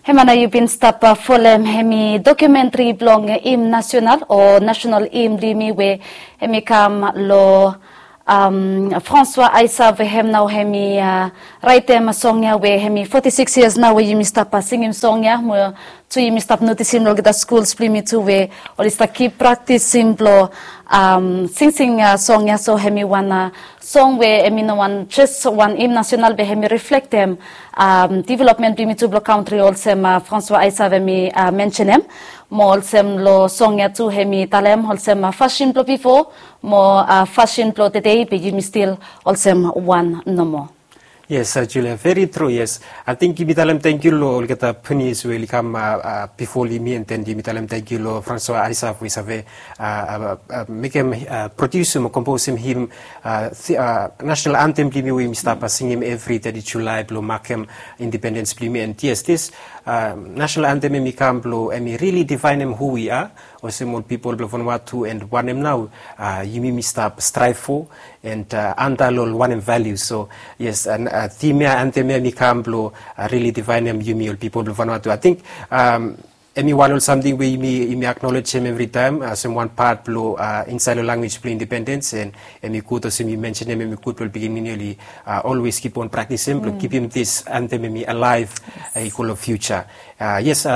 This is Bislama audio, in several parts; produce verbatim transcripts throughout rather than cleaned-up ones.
Hemia nao yu bin stap folem hemi dokumentri blong Im Nasional o Nasional Im blong yumi we hemi kam long François Ayssav we hem nao hemi raetem song ya we hemi foti sikis yias nao we yumi stap singim song ya mo tu yumi stap notisim long olgeta skuls blong yumi tu we oli stap kip praktisim blong singsing song ya. So hemi wan song we hemi no wan jes wan Im Nasional be hemi riflektem developmen blong yumi tu blong kantri olsem François Ayssav hemi mensenem. Mo olsem long song ya tu hemi talem olsem fasin blong bifo mo fasin blong tede be yumi stil olsem wan nomo. Yes, Julia, veri tru. Yes, ating yumi talem tangkiu long olgeta pioneers we oli kam bifo long yumi, and then yumi talem tangkiu long François Ayssav we i save mekem, produsim o komposim him national anthem blong yumi we yumi stap singim evri teti Julae blong makem independens blong yumi. And yes, this national anthem hemi kam blong hemi rili difaenem hu wi a olsem ol pipol blong Vanuatu and wanem nao yumi yumi stap straev fo and anta long ol wanem valius. So yes, tim ya, anthem ya hemi kam blong rili difaenem yumi ol pipol blong Vanuatu. Ating hemi wan ol samting we yumi aknolejem evritaem olsem wan pat blong insaed long lanwis blong independens, and hemi gud olsem yu mensenem, hemi gud blong ol pikinini oli olwes kip on praktisim blong kipim this anthem hemi alaev i go long fiuja. Yes,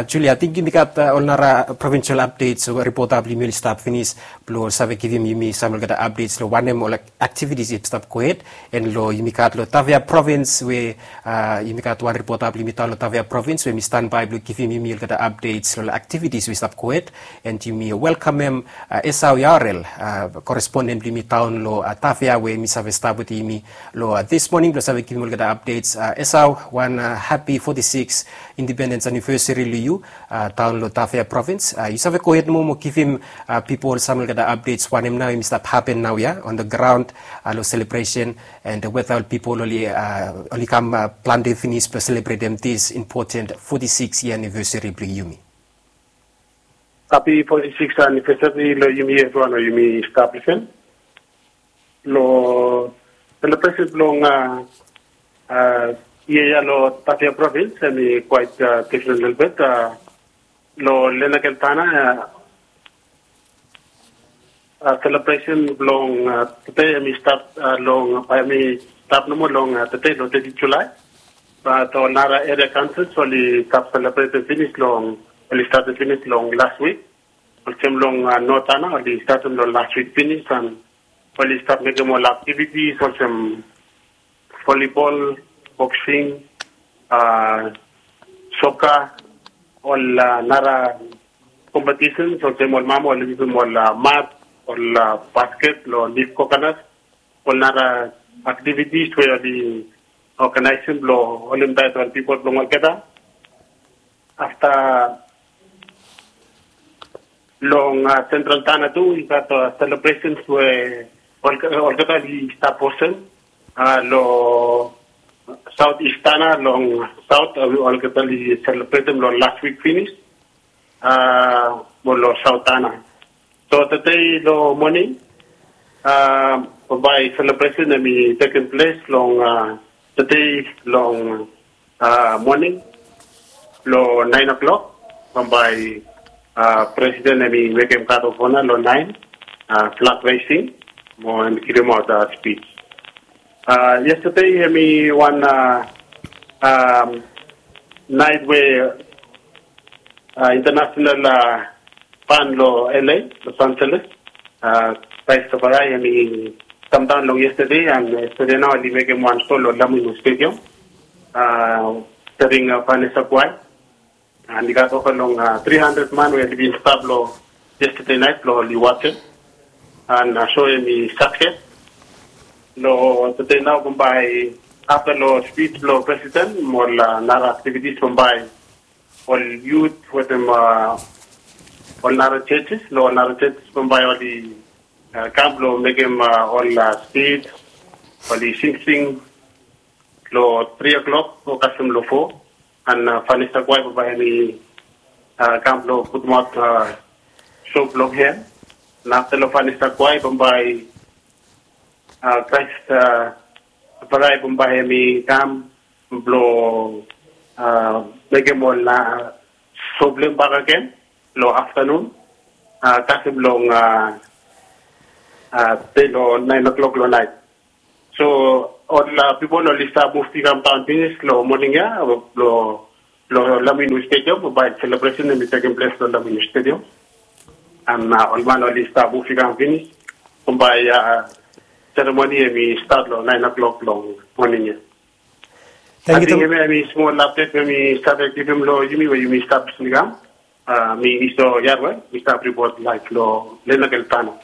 Julia, ating yumi gat ol nara provinsel apdets o ripota blong yumi oli stap finis blong save givim yumi sam olgeta apdets long wanem ol aktivitis i stap gohed. And long yumi gat long Tafea provins we yumi gat wan ripota blong yumi daon long Tafea provins we hemi stanbae blong givim yumi olgeta apdets long aktivitis we i stap gohed. And yumi welkamem Esau Yarel, koresponden blong yumi daon long Tafea we hemi save stap wetem yumi long this moning blong save givim olgeta apdets. Esau, wan hapi foti sikis independens anivesari long yu daon long Tafea provins. Yu save gohed nomo mo givim pipol sam olgeta apdets wanem nao hemi stap hapen naoia on the ground long selebresen, and weta ol pipol oli kam plante finis blong selebretem this important foti sikis yia anivesari blong yumi. Hapi foti sikis anivesari long yumi evriwan we yumi stap lisen. Long selebresen blong yia ya long Tafea provins hemi kwaet difren lelebet. Long Lenakel Tanna, selebresen blong tede hemi stap long, hemi stap nomo long tede long teti Julae. Bat ol nara eria kaonsils oli stap selebretem finis long, oli statem finis long las wik. Olsem long North Tanna oli statem long las wik finis, and oli stap mekem ol aktivitis olsem volibol, boksing, soka, ol nara kompetisen olsem ol mama oli yusum ol mat, ol basket long lif kokonat, ol nara aktivitis we oli oganaesem blong holem taet ol pipol blong olgeta. Afta long Sentral Tanna tu i gat selebresens we olgeta oli stap hostem long Saot Is Tanna long saot, olgeta oli selebretem long las wik finis mo long Saot Tanna. So tede long moning bambae selebresen hemi tekem ples long tede long moning long naen o'clock. Bambae presiden hemi mekem guard of honour long naen, flag raising mo hemi givimaot spij. Yestede hemi wan naet we international fan long L A, Los Angeles, Christopher Aye hemi kamdaon long yestede, and yestede nao oli mekem wan so long Lamunu Stadium, staring Vanessa Quai. And i gat ova long tri handred man we oli bin stap long yestede naet blong oli wajem. And so hemi sakses. Long tede nao bambae afta long spij blong presiden mo ol nara aktivitis bambae ol yut wetem ol nara jejes, long ol nara jejes bambae oli kam blong mekem ol spij, oli singsing long tri o'clock o kasem long fo. And Vanessa Quai bambae hemi kam blong putumaot so blong hem. And afta long Vanessa Quai bambae Christopher Aye bambae hemi kam blong mekem ol, a, problem bakegen long aftanun, a, kasem long, a, a, te long naen o'klok long naet. So ol, a, pipol oli stap muv i kam daon finis long moning ya, long, long Laminu Stadium, bae selebresen hemi tekem ples long Laminu Stadium. An, a, ol man oli stap muv i kam finis, bambae, a, seremoni hemi stat long naen o'klok long moning ya. Ating hemia hemi smol apdet we mi save givim long yumi we yumi stap listening. A, mi Iso Yarwe, mi stap ripot laef long Lenakel Tano.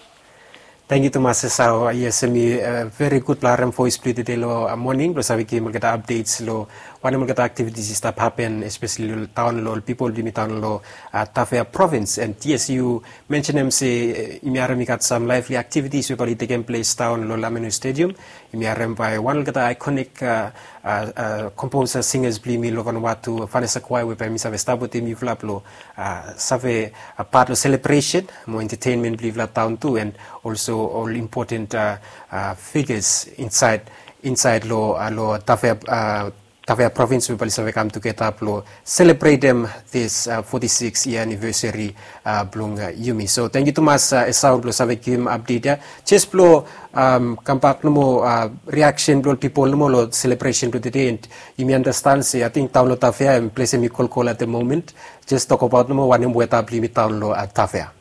Tangkiu tumas Esau. Yes, hemi, a, veri gud blong harem voes blong yu tede long, a, moning blong save givim olgeta updates long wanem olgeta activities i stap hapen, especially long taon, long ol pipol blong yumi daon long, a, Tafea Province. And yes, yu mensenem se, e, yumi harem i gat sam lively activities we bae oli tekem ples daon long Laminu Stadium. Yumi harem bae wan olgeta iconic, a, a, a, composer, singers blong yumi long Vanuatu, Vanessa Quai, we bae hemi save stap wetem yufala blong, a, save, a, pat long celebration mo entertainment blong yufala daon tu, and also ol important, a, a, figures insaed, insaed long, a, long Tafea, a, Tafea Province we bae oli save kam tugeta blong selebretem this, a, foti siks yia anivesari, a, blong, a, yumi. So tangkiu tumas, a, Esau, blong save givim apdet ya. Jes blong, am, kambak nomo, a, riaksen blong ol pipol nomo long selebresen blong tede, and yumi andastan se ating taon long Tafea, em, ples hemi kolkol at the moment. Jes tokbaot nomo wanem weta blong yumi taon long, a, Tafea.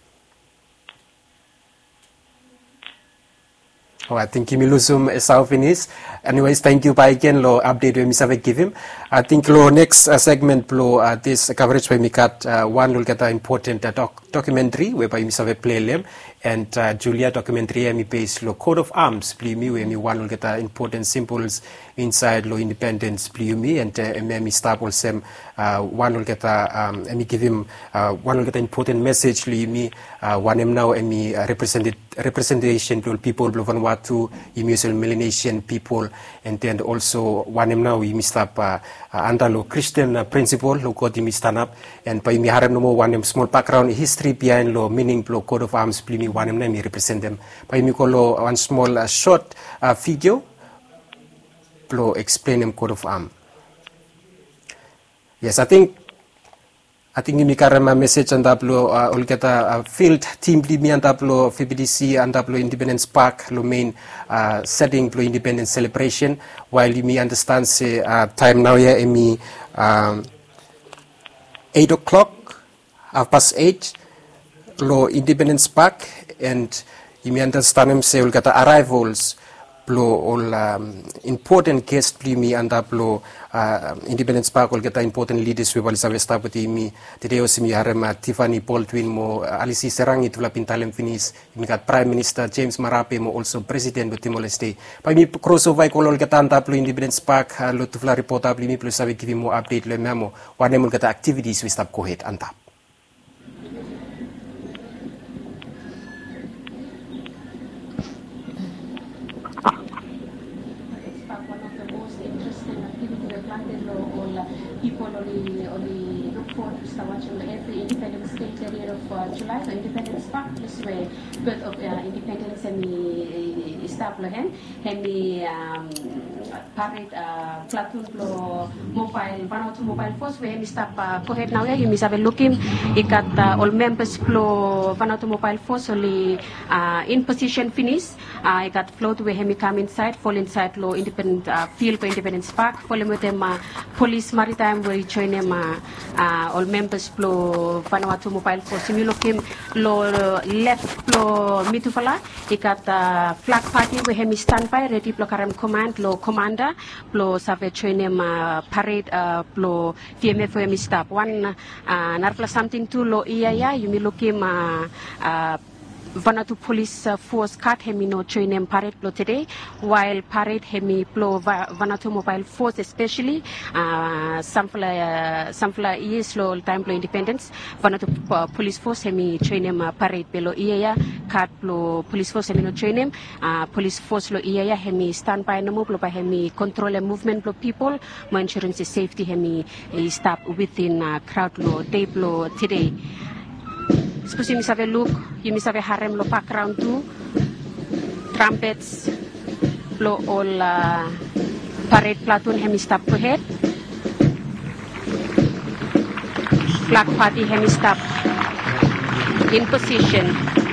O, ating yumi lusum Esau finis. Anyways, tangkiu bakegen long apdet we yumi save givim. Ating long neks, a, segment blong, a, this coverage we yumi gat, a, wan olgeta important, a, dok-, documentary we bae yumi save plei long hem. And, a, Julia, documentary ya hemi base long coat of arms blong yumi, we hemi wan olgeta important symbols insaed long independens blong yumi, and, a, hemi, hemi stap olsem, a, wan olgeta, am, hemi givim, a, wan olgeta important mesej long yumi, a, wanem nao hemi, a, represented, representation blong ol pipol blong Vanuatu, yumi olsem Melanesian pipol, and then also wanem nao yumi stap, a, a, anda long Christian, a, prinsipol, long God yumi stanap, and bae yumi harem nomo wanem smol bakgraon histri biaen long mining blong coat of arms blong yumi, wanem nao hemi representem. Bae yumi go long wan smol, a, sot, a, video blong eksplenem coat of arm. Yes, ating, ating yumi karem, a, mesej antap long, a, olgeta, a, field tim blong yumi antap long V B D C, antap long Independence Park, long mein, a, seting blong Independence Celebration. Wael yumi andastan se, a, taem naoia hemi, a, eit o'klok, hafpas eit, long Independence Park, and yumi andastanem se olgeta arrivals blong ol, am, important guest blong yumi antap long, a, Independence Park, olgeta important leaders we bae oli save stap wetem yumi tede, olsem yumi harem, a, Tiffany Baldwin mo, a, Alice Serangi, tufala bin talem finis. Yumi gat Praem Minista James Marape mo also Presiden blong Timor-Leste. Bae yumi kros ova i go long olgeta antap long Independence Park, a, long tufala ripota blong yumi blong save givim moa apdet long hemia mo wanem olgeta activities we i stap gohed antap. It's one of the most interesting activity we plante long ol pipol oli, oli look forward to stap wajem long evri Independence Day, thirtieth of, uh, July, long Independence Park, ples we Birth of, uh, Independence hemi, i, i stap long hem. Hemi, am, parade, a, platoon blong Mobile, Vanuatu Mobile Force we hemi stap, a, gohed naoia. Yumi save lukim i gat, a, ol membas blong Vanuatu Mobile Force oli, a, in position finis. A, i gat float we hemi kam insaed, fol insaed long Independence, a, field blong Independence Park, folem wetem, a, polis maritaem we i joenem, a, a, ol membas blong Vanuatu Mobile Force. Yumi lukim long lef blong mitufala i gat, a, flag party we hemi stanbae redi blong karem komand long komanda blong save joenem, a, parade, a, blong V M F we hemi stap. Wan, a, narafala samting tu long yia ya, yumi lukim, a, a, Vanuatu Police, a, Force Guard hemi no joenem parade blong tede, wael parade hemi blong Va-, Vanuatu Mobile Force especially, a, samfala, a, samfala yias long taem blong independens, Vanuatu, a, Police Force hemi joenem, a, parade, be long yia ya, guard blong Police Force hemi no joenem, a, Police Force long yia ya hemi stanbae nomo blong bae hemi kontrolem muvmen blong pipol mo ensurem se sefti hemi i stap within, a, kraod long dei blong tede. Sapos yumi save luk, yumi save harem long bakgraon tu, trumpets blong ol, a, parade platoon hemi stap gohed. Flag party hemi stap in position.